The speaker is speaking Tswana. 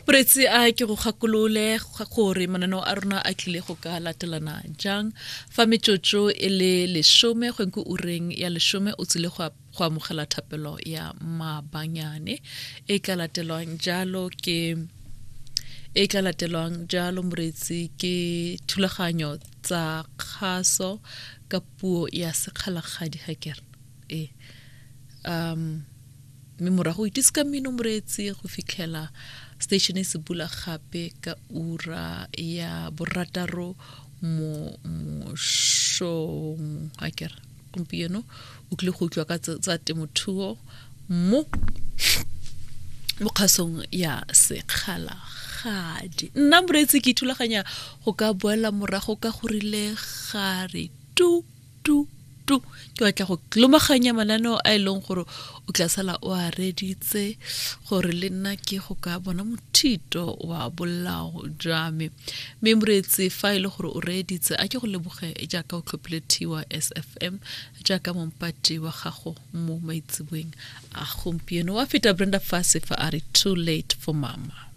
Moreetsi a ke go gakolole gore mananeo a rona a tlile go ka latelana jang fa metsotso e le lesome go ko ureng ya lesome o tsile go go amogela thapelo ya maabanyane e tla latelwang jalo ke e tla latelwang jalo moreetsi ke thulaganyo tsa kgaso ka puo ya sekgalagadi ga kere e um mme morago o itise ka mmino moreetsi go fitlhela station e se bula gape ka ura ya borataro mo mosong a kere gompieno o tlile go utlwa ka tsa temothuo mo mo kgasong ya sekgalagadi nna moreetsi ke ithulaganya go ka boela morago ka gorile gare tu tu tu ke batla go lomaganya mananeo a e leng gore o tla sala o a reditse gore le nna ke go ka bona mothito wa bolao jwa me mme moreetsi fa e le gore o reeditse a ke go leboge jaaka o tlhophile TYSFM jaaka mompati wa gago mo maitseboeng a gompieno wa feta Brenda Fassie fa a re too late for mama.